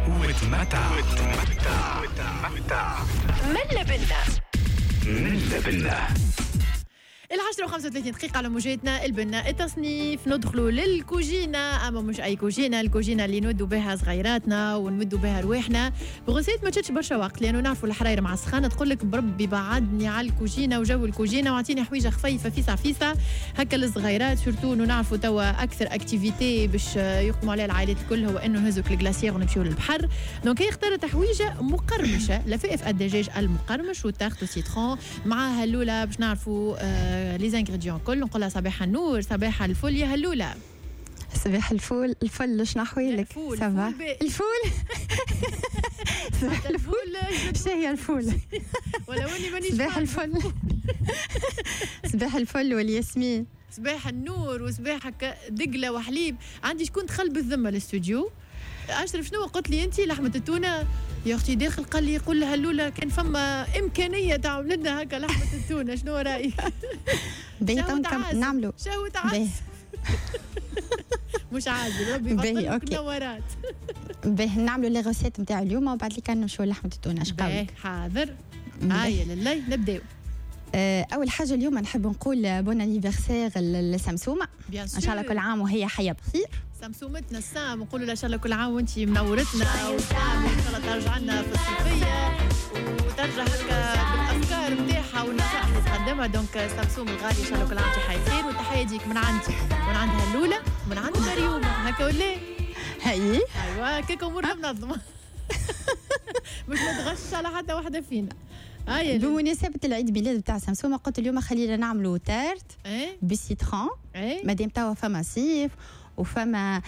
وتمتع وتمتع وتمتع. ملا بنا ملا بنا. 10:35 دقيقة على موجاتنا البنا التصنيف. ندخلوا للكوجينة، أما مش أي كوجينة، الكوجينة اللي نودوا بها صغيراتنا ونمدوا بها رواحنا ب recette ما تشدش برشا وقت، لأنه نعرفوا الحراير مع السخانة تقول لك بربي بعدني على الكوجينة وجو الكوجينة واعطيني حويجة خفيفة فيسع فيسع هكا للصغيرات، surtout إنه نعرفوا توا أكثر activité باش يقوموا عليها العائلات الكل هو إنه نهزوا ال glacière ونمشيو للبحر. donc هي اختارت حويجة مقرمشة، لفائف الدجاج المقرمش وال tarte citron مع هلولة باش نعرفوا les ingrédients كل. نقولها صباح النور، صباح الفل يا هلوله. صباح الفول، الفل شنو احوالك؟ الفول ça va؟ الفول صباح الفول، شنو هي الفول؟ ولا وني مانيش صباح الفل، صباح الفل والياسمين، صباح النور وصباحك دقله وحليب. عندي شكون دخل بالذمه للاستوديو؟ اشرف شنو قلت لي انت؟ لحمه التونه يا اختي داخل قال لي قول لها هلوله كان فما امكانية تعمل لنا هكا لحمه التونه، شنو رايك؟ باهي نعملوا شهوة عسل مش عازل ربي يبطلك نورات. باهي نعملوا les recettes نتاع اليوم وبعد اللي كان نمشيو لحمه التونه. اش قولك؟ حاضر، هيا لله نبداو. اول حاجة اليوم نحب نقول bon anniversaire لسمسومه، ان شاء الله كل عام وهي حيه بخير. سمسومتنا السام نقولوا لها ان شاء الله كل عام وانت منورتنا، وسام ان شاء الله ترجع لنا في الصيفية وترجع هكا بالافكار نتاعها والنصائح اللي تقدمها. donc سمسوم الغالي ان شاء الله كل عام وانت حيه بخير، والتحيه ديك من عندي ومن عند هلوله ومن عند مريومه هكا ولا؟ هاي ايوا هكاك امورنا منظمة مش متغشش على حتى واحدة فينا. بمناسبة العيد ميلاد بتاع سمسومة قلت اليوم خلينا نعملوا tarte بال citron، مادام توا فما صيف وفما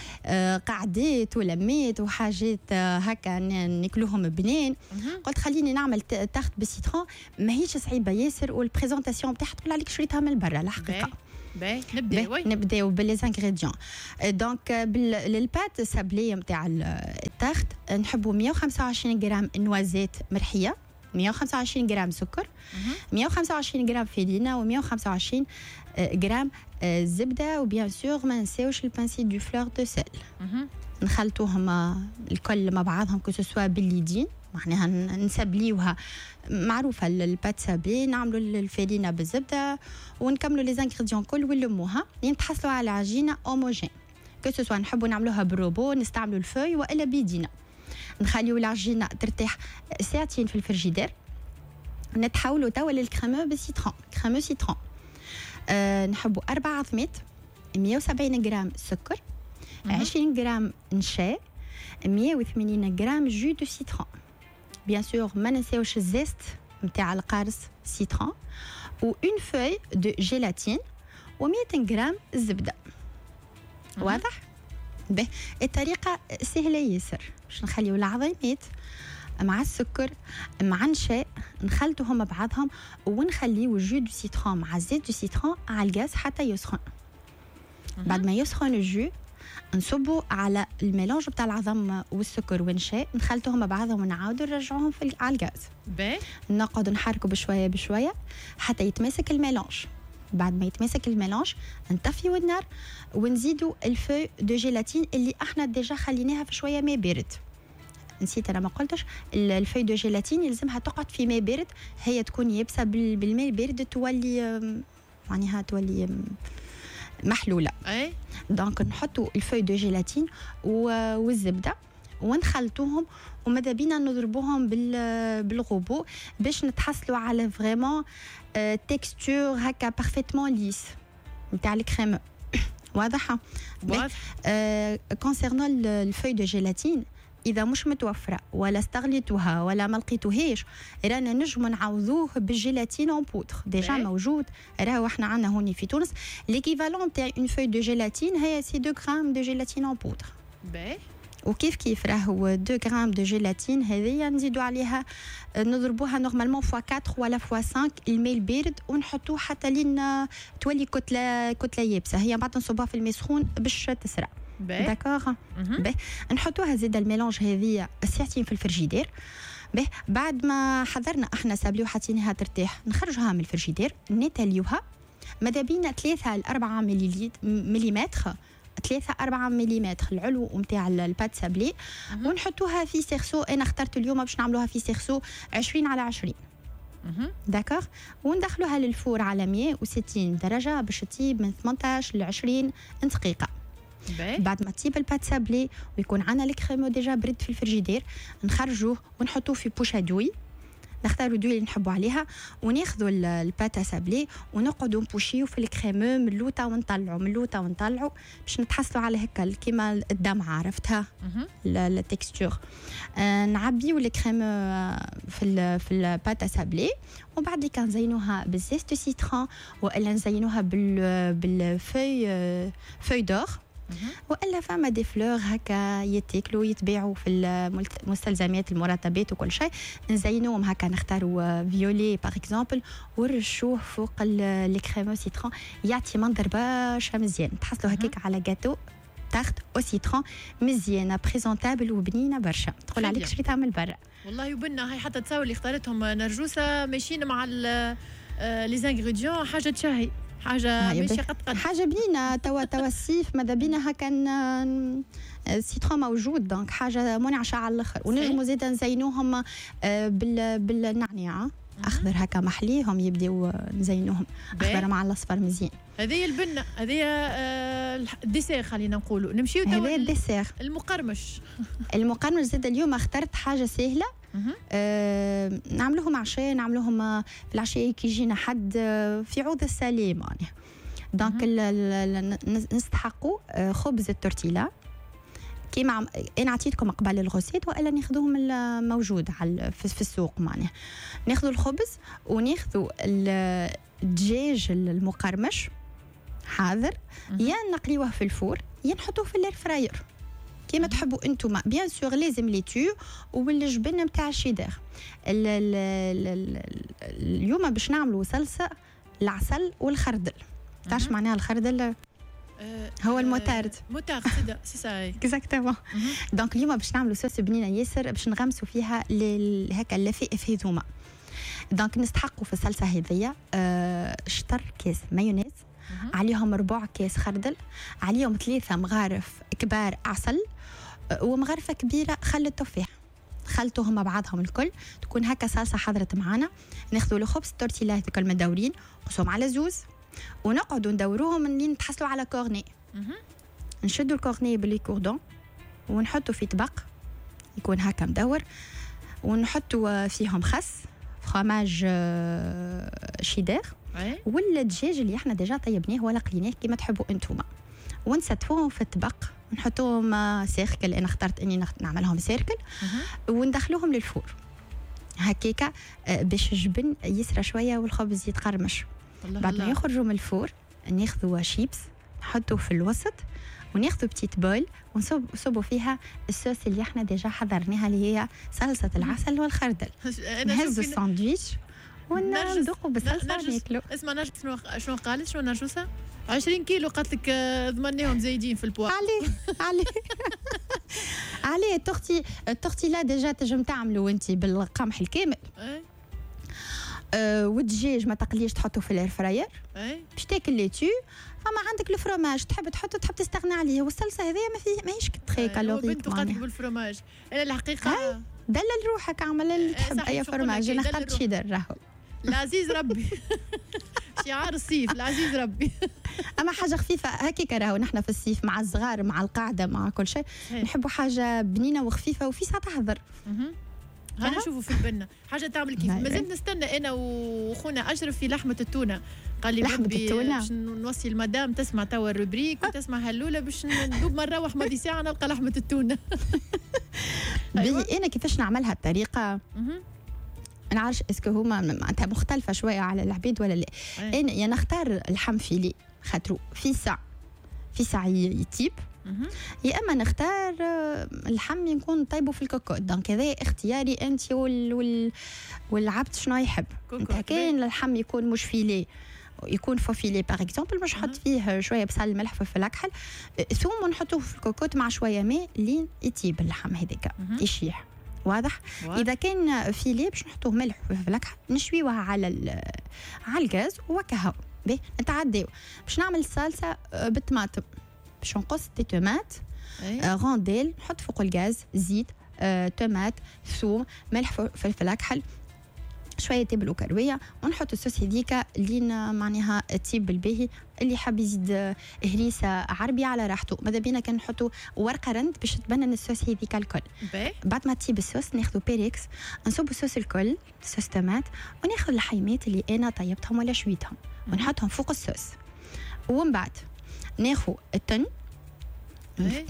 قعدات ولمات وحاجات هكا ناكلوهم بنين، قلت خليني نعمل tarte بال citron ماهيش صعيبة ياسر، وال présentation بتاعها تقول عليك شريتها من برا الحقيقة. نبداو ب les ingrédients. donc لل pâte sablée نتاع ال tarte نحبوا 125 غرام noisettes مرحية، 125 غرام سكر، 125 غرام فيرينا، و125 غرام زبدة، و bien sûr ما نساوش ال pincée de fleur de sel. نخلطوهم الكل مع بعضهم que ce soit باليدين، معناها نسبليوها معروفة ال pâte sablée، نعملوا الفرينة بالزبده ونكملوا les ingrédients كل ونلموها لين تحصلوا على عجينه homogène. que ce soit نحبوا نعملوها بالروبو نستعملوا ال fouet والا بيدينا. نخليو العجينة ترتاح ساعتين في الفريجيدير. نتحولوا توا لل crémeux بال citron، crémeux citron. نحبوا 4 عظمات، 170 غرام سكر، 20 غرام نشا، 180 غرام jus de citron. bien sûr ما ننساوش ال zeste نتاع القارص citron، و une feuille de gélatine، و200 غرام زبدة. واضح؟ به الطريقة سهلة ياسر. باش نخليو العظيمات مع السكر مع النشاء نخلطوهم مع بعضهم ونخليو jus de citron مع zeste de citron على الغاز حتى يسخن. بعد ما يسخن ال jus نصبو على ال mélange بتاع العظم والسكر والنشاء، نخلطوهم مع بعضهم ونعاودو نرجعوهم على الغاز. نقعدو نحركو بشوية بشوية حتى يتماسك ال mélange. بعد ما يتماسك ال mélange نطفيو النار ونزيدو ال feuille de gélatine اللي احنا déjà خليناها في شوية ماء بارد. نسيت انا ما قلتش ال feuille de gélatine يلزمها تقعد في ماء بارد، هي تكون يابسة بالماء البارد تولي معناها تولي محلولة. اي donc نحطوا ال feuille de gélatine والزبده ونخلطوهم، وماذا بينا نضربوهم بالغوبو باش نتحصلوا على vraiment texture هكا parfaitement lisse نتاع الكريم. واضحة؟ واضح. concernant ال feuille de gélatine اذا مش متوفرة ولا استغليتوها ولا ما لقيتوهاش رانا نجمو نعوضوه بال gélatine en poudre déjà موجود، راهو احنا عندنا هوني في تونس l'équivalent تاع une feuille de gélatine هي c'est 2 grammes de gélatine en poudre. وكيف كيف راهو 2 grammes de gélatine هذيا نزيدو عليها نضربوها normalement fois 4 ولا fois 5 الماء البارد ونحطوه حتى لين تولي كتلة يابسة، هي بعد نصبوها في الماء سخون باش تسرع. d'accord. باهي نحطوها زيد ال mélange هذيا ساعتين في الفريجيدير. باهي بعد ما حضرنا احنا سابلي وحطيناها ترتاح نخرجوها من الفريجيدير نتاليوها ماذا بينا 3 ل 4 مليمتر 3 4 ملم العلو نتاع ال pâte sablée، ونحطوها في cerceau. انا اخترت اليوم باش نعملوها في cerceau 20 على 20. d'accord، وندخلوها لل four على 160 درجه باش تطيب من 18 ل 20 دقيقه. بعد ما تطيب ال pâte sablée ويكون عندنا ال crémeux déjà برد في الفريجيدير، نخرجوه ونحطوه في poche à douille، نختاروا douille اللي نحبوا عليها، وناخذوا ال pâte sablée ونقعدوا نبوشيو في ال crémeux من اللوطه ونطلعوا، من اللوطه ونطلعوا، باش نتحصلوا على هكا كيما الدمعه، عرفتها ال texture. نعبيو ال crémeux في ال pâte sablée، ومن بعد كان نزينوها بال zeste citron والا نزينوها بال feuille d'or، والا فما des fleurs هكا يتاكلوا، يتباعوا في المستلزمات المرطبات وكل شيء، نزينوهم هكا، نختاروا violet par exemple ونرشوه فوق ال crémeux citron، يعطي منظر برشا مزيان. تحصلوا هكاك على gâteau tarte au citron مزيانه، présentable وبنينه برشا، تقول عليك شريتها من برا. والله وبنا هاي، حتى تصاور اللي اختارتهم نرجوسه ماشيين مع les ingrédients، حاجة تشهي، حاجة ماشي قد قد. حاجة بنينه. توا الصيف ماذا بينا هكا ال citron موجود، donc حاجة منعشه على الاخر. ونجموا زيد نزينوهم بالنعناع اخضر هكا محليهم، يبداو نزينوهم اخضر مع الاصفر مزيان. هذه البنه، هذه ال dessert، خلينا نقولوا نمشيو توا هذا ال dessert. المقرمش. المقرمش زاد اليوم اخترت حاجة سهله، نعملوهم عشاء، نعملوهم في العشاء كي يجينا حد في عوض ال salé معناها. donc نستحقوا خبز التورتيلا كيما انا عطيتكم قبل ال recette، والا ناخذوهم الموجود على في السوق معناها. ناخذوا الخبز وناخذوا الدجاج المقرمش حاضر، يا نقليوه في ال four يا نحطوه في ال air fryer كيما تحبوا انتم. bien sûr لازم les thons والجبن نتاع الشيدر. اليوم باش نعملوا صلصه العسل والخردل. تعرف معناها الخردل؟ هو ال moutarde. moutarde، c'est ça. exactement. donc اليوم باش نعملوا صوص بنينه ياسر باش نغمسوا فيها هكا اللفائف هذوما. donc نستحقوا في الصلصه هذيا شطر كاس مايونيز، عليهم ربع كاس خردل، عليهم 3 مغارف كبار عسل، ومغرفه كبيرة خل التفاح. خلطوهم مع بعضهم الكل، تكون هكا صلصه حضرت معانا. ناخذوا الخبز التورتيلا هذوك المدورين، نقصوهم على زوز ونقعدوا ندوروهم لين نتحصلوا على cornet. نشدوا ال cornet ب les cordons ونحطوا في طبق يكون هكا مدور، ونحطوا فيهم خس، fromage cheddar ولا الدجاج اللي احنا déjà طيبناه ولا قليناه كيما تحبوا انتوما، ونستفوهم في الطبق ونحطوهم cercle. انا اخترت اني نعملهم cercle وندخلوهم لل four هكاكا باش الجبن يسرى شوية والخبز يتقرمش. بعد ما يخرجوا من ال four ناخذوا شيبس نحطوه في الوسط، وناخذوا petite bol ونصبوا فيها الصوص اللي احنا déjà حضرناها اللي هي صلصه العسل والخردل. نهزوا الساندويتش وندوقوا بالصلصه ناكلوا. اسمع نرجس شنو قالت، شنو نرجسه؟ 20 كيلو قالت لك ضمناهم زايدين في البوا. عليه عليه عليه. التورتيلا déjà تنجم تعملوا انت بالقمح الكامل. والدجاج ما تقليش، تحطه في ال air fryer باش تاكل les thons. فما عندك الفروماج تحب تحطه تحب تستغنى عليه، والصلصه هذيا ما فيه ماهيش très calorique. بنت قالت بالفروماج. انا الحقيقة دلل روحك، اعمل اللي تحب، اي فروماج. انا اخترت شيدر راهو. العزيز ربي، شعار الصيف العزيز ربي. اما حاجة خفيفة هكاك راهو نحن في الصيف مع الصغار مع القعدة مع كل شيء نحبوا حاجة بنينه وخفيفة وفي ساعة تحضر. هانا نشوفوا في البنه حاجة تعمل كيف. مازلت نستنى انا وخونا اشرف في لحمه التونه، قال لي لحمه التونه باش نوصي المدام تسمع توا ال rubrique وتسمع هلوله باش ندوب ما نروح ماضي ساعة نلقى لحمه التونه. أيوة. انا كيفاش نعملها الطريقة ما نعرفش est-ce que هما معناتها مختلفة شوية على العبيد ولا لا. انا يا نختار اللحم filet خاطرو في ساعة يطيب، يا اما نختار اللحم يكون طيبة في ال cocotte. donc هذا اختياري انت والعبد شنو يحب. انت كاين اللحم يكون مش filet، يكون faux filet par exemple، مش نحط فيه شوية بصل ملح فلفل اكحل ثوم ونحطوه في الكوكوت مع شوية ماء لين يطيب اللحم هذاك يشيح. واضح؟ اذا كان filet باش نحطوه ملح وفلفل اكحل نشويوها على الغاز وكهو. باهي نتعداو باش نعمل الصلصه بالطماطم. باش نقص des tomates rondelles، نحط فوق الغاز زيت، تومات، ثوم، ملح، فلفل اكحل، شوية تابل وكرويه، ونحط الصوص هذيك لين معناها تطيب بالباهي. اللي حاب يزيد هريسه عربي على راحته، ماذا بينا كان نحطوا ورقة رند باش تبنن الصوص هذيك الكل. بعد ما تطيب الصوص ناخذوا بيريكس، نصبوا الصوص الكل، sauce tomate، وناخذ اللحيمات اللي انا طيبتهم ولا شويتهم ونحطهم فوق الصوص. ومن بعد ناخذ ال thon،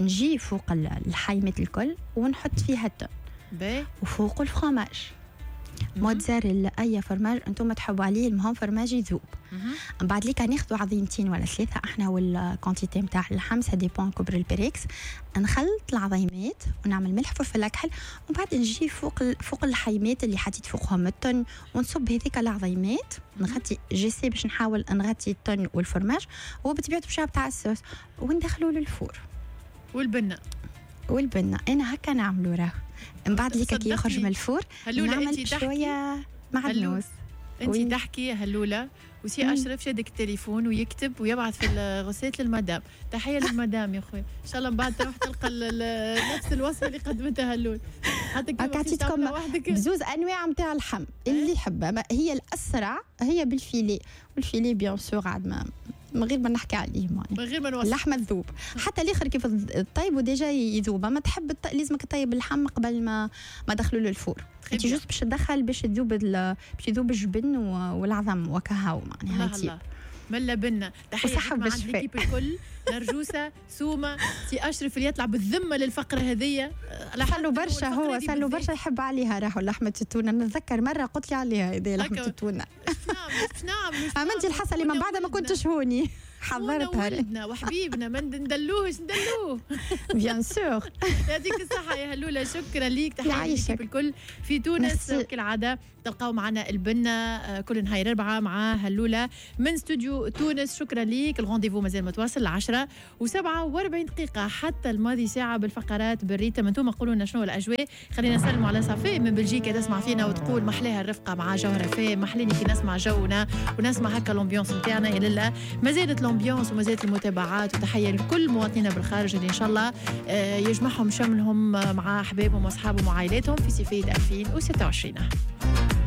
نجي فوق اللحيمات الكل ونحط فيها ال thon وفوق ال fromage موتزاريلا، اي فرماج انتم تحبوا عليه، المهم فرماج يذوب. من بعد ليك ناخذوا عظيمتين ولا ثلاثه، احنا وال quantité نتاع اللحم، ça dépend كبر البريكس. نخلط العظيمات ونعمل ملح فلفل اكحل، ومن بعد نجي فوق اللحيمات اللي حطيت فوقهم ال thon ونصب هذيك العظيمات، نغطي j'essaie باش نحاول نغطي ال thon وال fromage وبطبيعة باش تاع الصوص، وندخلوا لل four. والبنه. والبنه انا هكا نعملوا راه. من بعد ليك كي يخرج من ال four نعمل شوية معدنوس. انت تحكي هلوله وسي اشرف شادك التليفون ويكتب ويبعث في ال recette للمدام. تحية للمدام يا خويا، ان شاء الله من بعد تروح تلقى نفس الوصفة اللي قدمتها هلول. حتى عطيتكم بزوز انواع نتاع اللحم اللي يحبها، هي الاسرع هي بال filet، وال filet bien sûr عاد ما من غير ما نحكي عليه، من غير ما نوصل اللحمة تذوب. حتى الاخر كيف طيب و déjà يذوب، ما تحب لازمك تطيب اللحم قبل ما دخلوا لل four. انت juste باش تدخل باش تذوب باش يذوب الجبن والعظم وكهو معناها يطيب. ملا بنا. تحية عند l'équipe الكل، نرجوسه، سومه، سي اشرف اللي يطلع بالذمه للفقرة هذيا. صلوا برشا، هو صلوا برشا يحب عليها راهو لحمه التونه. نتذكر مرة قلت لي عليها هذه لحمه التونه. نعم عملتي الحصة اللي من بعد ما كنتش هوني حضرتها. ولدنا وحبيبنا ما ندلوهش ندلوه. bien sûr. يعطيك الصحة يا هلوله، شكرا ليك. تحية ليك الكل في تونس كالعادة تلقاو معنا البنه كل نهار 4 مع هلوله من استوديو تونس. شكرا ليك. ال rendez-vous مازال متواصل 10:47 حتى الماضي ساعة بالفقرات بال rythme. انتم قولوا لنا شنو الاجواء. خلينا نسلموا على صفاء من بلجيكا تسمع فينا وتقول محلاها الرفقة مع جوهره فاء، محليني كي نسمع جونا ونسمع هكا l'ambiance نتاعنا. يا لله ما زالت l'ambiance وما زالت المتابعات، وتحية لكل مواطنينا بالخارج اللي ان شاء الله يجمعهم شملهم مع احبابهم واصحابهم وعائلاتهم في صيفية 2026.